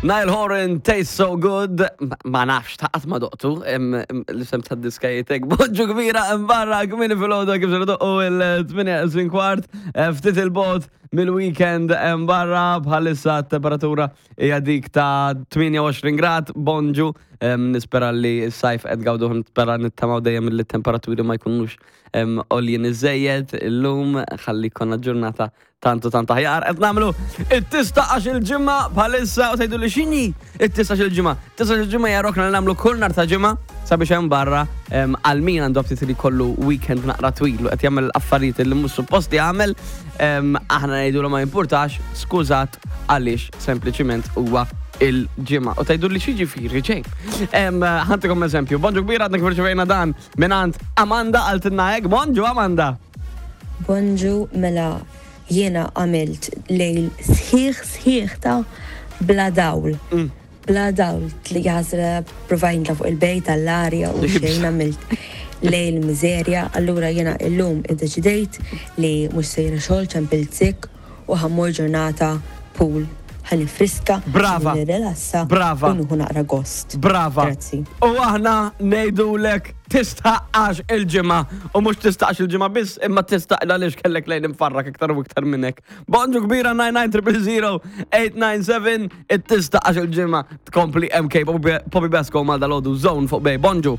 Niall Horan, Tastes So Good, ma nafx ta' qatt ma doqtu, l-isem ta' diska jitek, bonġu kbira barra kmini fil-ħodu kif se doqqu il-8 kwart, eh, ftit il-bot mill-weekend barra bħalissa temperatura hija dik ta' 28 grad, bonġu, nispera li s-sajf qed gawdu, nispera nittamaw dejjem li temperaturi ma jkunux għoljin iżejjed illum, ħalli konna ġurnata Tantu tant aħjar qed nagħmlu it-tista għax il-ġimgħa bħalissa u tgħidu li x'inhi it-tista il-ġimgħa. Tista il-ġimgħa hija rokna li nagħmlu kull nhar ta' ġimgħa sabiex hemm barra għal min għandu ftit li kollu weekend naqra twil u qed jagħmel affarijiet li mhux suppost jagħmel aħna ngħidu ma jimpurtax, skużat għaliex sempliċiment huwa il-ġimgħa. U tgħidu li xi ġej. Ħantikom eżempju, bonġu kbira għadna kif irċevejna dan mingħand Amanda għaltilna hekk, bonġu Amanda. Bonġu mela jiena għamilt lejl sħiħ sħiħ ta' bla dawl. Mm. Bla dawl li jaħsra provajt nitla' fuq il-bejt għall-arja u xejn għamilt lejl miżerja, allura jiena illum iddeċidejt li mhux sejra xogħol ċempilt sick u ħa mmur ġurnata pool ħa nifriska, Brava. nirrilassa Brava. u nieħu naqra gost. Brava. Grazzi. U aħna ngħidulek tistħaqqax il-ġimgħa u mhux tistaqx il-ġimgħa biss imma tistaq għaliex kellek lejn imfarrak iktar u iktar minn hekk. Bonġu kbira 99 897 it-tistaqax il-ġimgħa tkompli MK Poppy Basco mal dalodu Zone fuq Bay. Bonġu.